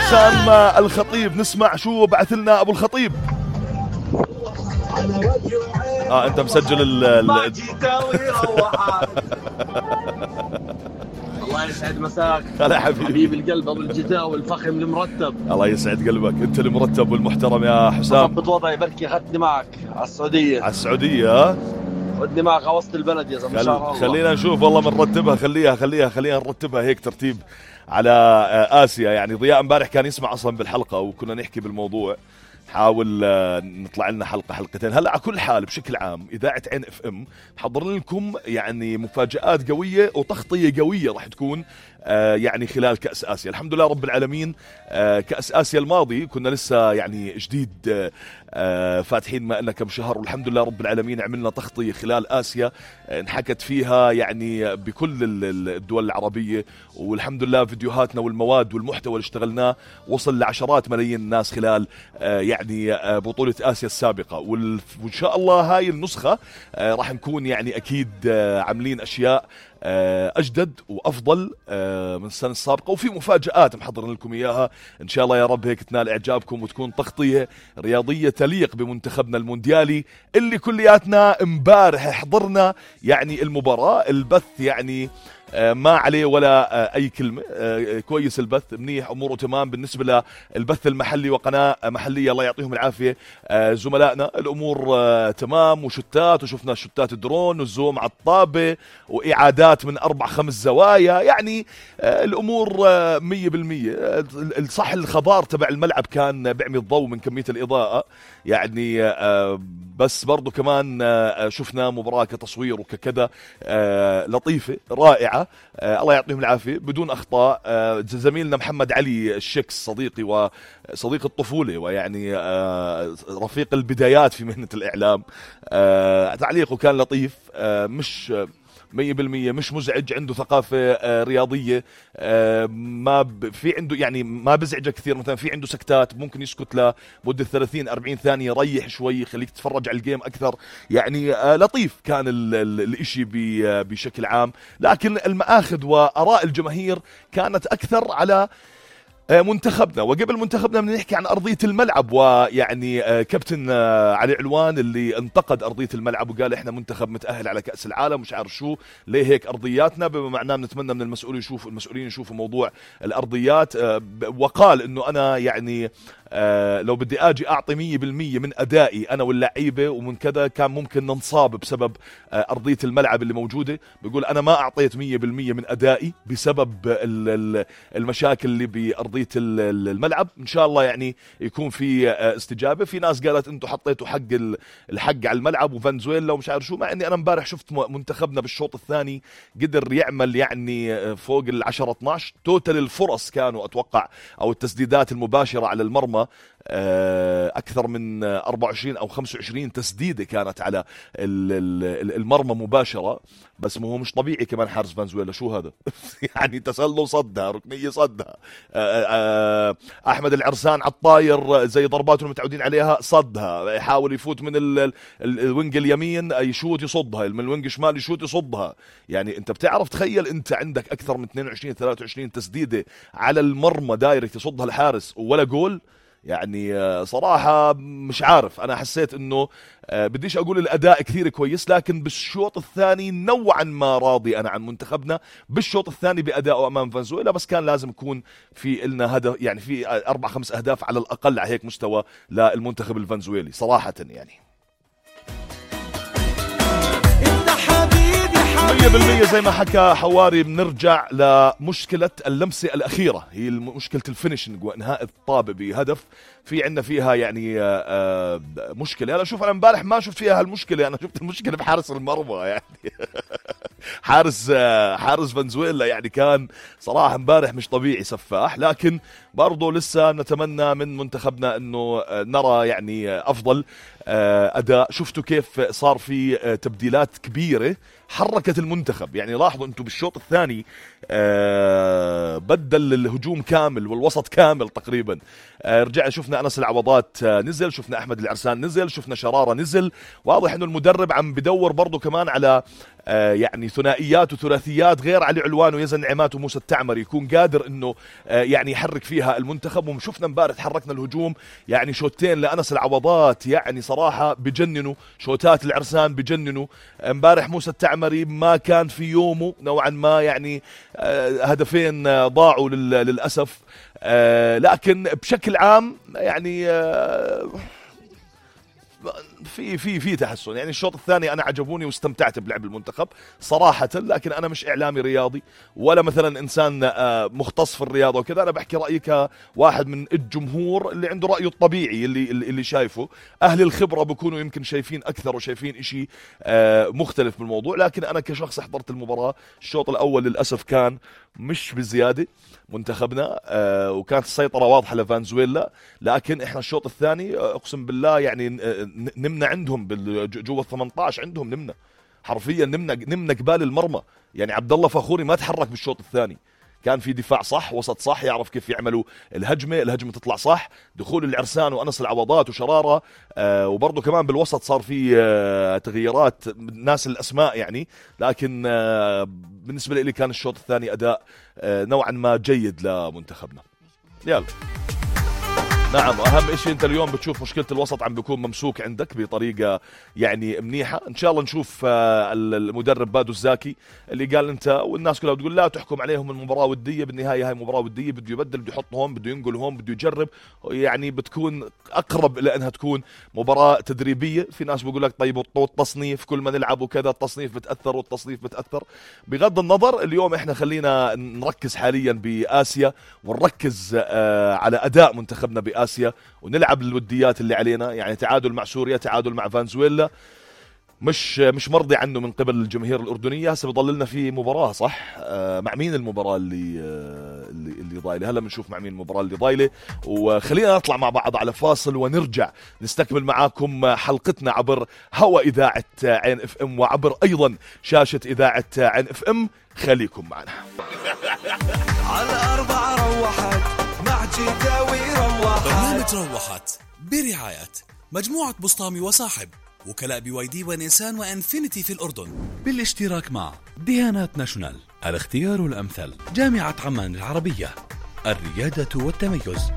حسام الخطيب. نسمع شو بعث لنا ابو الخطيب. انت مسجل الله يسعد مساك. هلا حبيب القلب ابو الجداوي الفخم المرتب. الله يسعد قلبك، انت المرتب والمحترم يا حسام. ضبط وضعي بركي اخذتني معك على السعوديه. على السعوديه خذني معك على وسط البلد يا زلمه. خلينا نشوف والله بنرتبها. خلينا نرتبها هيك ترتيب على آسيا. يعني ضياء امبارح كان يسمع اصلا بالحلقه وكنا نحكي بالموضوع، نحاول نطلع لنا حلقتين. هلا على كل حال بشكل عام إذاعة عين اف ام محضر لكم يعني مفاجآت قوية وتغطية قوية راح تكون يعني خلال كأس آسيا. الحمد لله رب العالمين. كأس آسيا الماضي كنا لسه يعني جديد فاتحين ما لنا كم شهر، والحمد لله رب العالمين عملنا تغطية خلال آسيا انحكت فيها يعني بكل الدول العربية، والحمد لله فيديوهاتنا والمواد والمحتوى اللي اشتغلناه وصل لعشرات ملايين الناس خلال يعني بطولة آسيا السابقة. وإن شاء الله هاي النسخة راح نكون يعني أكيد عاملين أشياء أجدد وأفضل من السنة السابقة، وفي مفاجآت محضرين لكم إياها إن شاء الله يا رب هيك تنال إعجابكم وتكون تغطية رياضية تليق بمنتخبنا المونديالي اللي كلياتنا امبارح حضرنا يعني المباراة. البث يعني ما عليه ولا أي كلمة، كويس البث منيح، أموره تمام بالنسبة للبث المحلي وقناة محلية الله يعطيهم العافية زملائنا. الأمور تمام وشتات، وشفنا شتات الدرون والزوم على الطابة وإعادات من 4-5 زوايا، يعني الأمور 100%. الصح الخضار تبع الملعب كان بيعمل الضوء من كمية الإضاءة يعني، بس برضو كمان شفنا مباراة كتصوير وككذا لطيفة رائعة الله يعطيهم العافية بدون أخطاء. زميلنا محمد علي الشكس صديقي وصديق الطفولة ويعني رفيق البدايات في مهنة الإعلام، تعليقه كان لطيف، مش 100% مش مزعج، عنده ثقافة رياضية، ما في عنده يعني ما بزعجك كثير. مثلا في عنده سكتات ممكن يسكت لمدة 30-40 ثانية، يريح شوي يخليك تتفرج على الجيم أكثر، يعني لطيف كان الاشي بشكل عام. لكن المآخذ وآراء الجماهير كانت أكثر على منتخبنا. وقبل منتخبنا بدنا نحكي عن أرضية الملعب، ويعني كابتن علي علوان اللي انتقد أرضية الملعب وقال إحنا منتخب متأهل على كأس العالم مش عارف شو، ليه هيك أرضياتنا؟ بما معناه بنتمنى من المسؤولين يشوفوا موضوع الأرضيات. وقال إنه أنا يعني لو بدي أجي أعطي 100% من أدائي أنا واللعيبة ومن كذا كان ممكن ننصاب بسبب أرضية الملعب اللي موجودة. بيقول أنا ما أعطيت 100% من أدائي بسبب المشاكل اللي بأرضية الملعب. إن شاء الله يعني يكون في استجابة. في ناس قالت أنتوا حطيتوا الحق على الملعب وفنزويلا ومش عارف شو، مع أني أنا امبارح شفت منتخبنا بالشوط الثاني قدر يعمل يعني فوق 10-12 توتال الفرص كانوا أتوقع، أو التسديدات المباشرة على المرمى أكثر من 24 أو 25 تسديدة كانت على المرمى مباشرة. بس ما هو مش طبيعي كمان حارس فنزويلا، شو هذا؟ يعني تسلل صدها، ركنية صدها، أحمد العرسان على الطاير زي ضرباته المتعودين عليها صدها، يحاول يفوت من الوينج اليمين يشوت يصدها، من الوينج الشمال يشوت يصدها. يعني أنت بتعرف تخيل أنت عندك أكثر من 22-23 تسديدة على المرمى دايركت يصدها الحارس ولا جول. يعني صراحة مش عارف، أنا حسيت أنه بديش أقول الأداء كثير كويس، لكن بالشوط الثاني نوعا ما راضي أنا عن منتخبنا بالشوط الثاني بأدائه أمام فنزويلا. بس كان لازم يكون في إلنا هدف، يعني في 4-5 أهداف على الأقل على هيك مستوى للمنتخب الفنزويلي صراحة. يعني 100% زي ما حكى حواري بنرجع لمشكلة اللمسة الأخيرة، هي مشكلة الفينيشنج وإنهاء الطابة بهدف. في عندنا فيها يعني مشكلة. أنا شوف أنا امبارح ما شفت فيها هالمشكلة، أنا شفت المشكلة بحارس المرمى يعني حارس فنزويلا يعني كان صراحة امبارح مش طبيعي سفاح. لكن برضو لسه نتمنى من منتخبنا أنه نرى يعني أفضل أداء. شفتوا كيف صار في تبديلات كبيرة حركت المنتخب. يعني لاحظوا أنتم بالشوط الثاني بدل الهجوم كامل والوسط كامل تقريبا. رجع شفنا أنس العوضات نزل، شفنا أحمد العرسان نزل، شفنا شرارة نزل. واضح أنه المدرب عم بدور برضو كمان على يعني ثنائيات وثلاثيات غير علي علوان ويزن نعمات وموسى التعمري، يكون قادر انه يعني يحرك فيها المنتخب. وشفنا امبارح حركنا الهجوم يعني شوتين لأنس العوضات يعني صراحة بجننوا، شوتات العرسان بجننوا. امبارح موسى التعمري ما كان في يومه نوعا ما، يعني هدفين ضاعوا للأسف. لكن بشكل عام يعني في تحسن. يعني الشوط الثاني انا عجبوني واستمتعت بلعب المنتخب صراحه، لكن انا مش اعلامي رياضي ولا مثلا انسان مختص في الرياضه وكذا. انا بحكي رايي كواحد من الجمهور اللي عنده رايه الطبيعي اللي شايفه. اهل الخبره بيكونوا يمكن شايفين اكثر وشايفين إشي مختلف بالموضوع، لكن انا كشخص حضرت المباراه. الشوط الاول للاسف كان مش بزياده منتخبنا، وكانت السيطره واضحه لفنزويلا، لكن احنا الشوط الثاني اقسم بالله يعني نمنا عندهم جوا ال18 عندهم، نمنا حرفيا، نمنا قبال المرمى. يعني عبد الله فخوري ما تحرك بالشوط الثاني، كان في دفاع صح، وسط صح، يعرف كيف يعملوا الهجمه تطلع صح. دخول العرسان وأنس العوضات وشرارة، وبرضه كمان بالوسط صار في تغييرات ناس الأسماء يعني. لكن بالنسبة لي كان الشوط الثاني أداء نوعا ما جيد لمنتخبنا. يلا نعم، أهم إشي أنت اليوم بتشوف مشكلة الوسط عم بيكون ممسوك عندك بطريقة يعني منيحة. إن شاء الله نشوف المدرب بادو الزاكي اللي قال أنت والناس كلها بتقول لا تحكم عليهم المباراة ودية، بالنهاية هاي مباراة ودية، بده يبدل، بده يحط هون، بده ينقل هون، بده يجرب. يعني بتكون أقرب إلى أنها تكون مباراة تدريبية. في ناس بيقول لك طيب والتصنيف كل ما نلعب وكذا التصنيف بتأثر والتصنيف بتأثر. بغض النظر اليوم إحنا خلينا نركز حاليا بآسيا ونركز على أداء منتخبنا بآسيا ونلعب الوديات اللي علينا. يعني تعادل مع سوريا، تعادل مع فنزويلا، مش مرضي عنه من قبل الجماهير الأردنية. هسه بضل لنا في مباراة صح، مع مين المباراة اللي ضايلة؟ هلا بنشوف مع مين المباراة اللي ضايلة. وخلينا نطلع مع بعض على فاصل ونرجع نستكمل معاكم حلقتنا عبر هوا إذاعة عين اف ام وعبر أيضا شاشة إذاعة عين اف ام. خليكم معنا. على 4 روحت مع جداوي روحت. برنامج روحت برعاية مجموعة بسطامي وصاحب، وكلاء BYD ونيسان وانفينيتي في الأردن، بالاشتراك مع ديانات ناشونال، الاختيار الأمثل، جامعة عمان العربية، الريادة والتميز.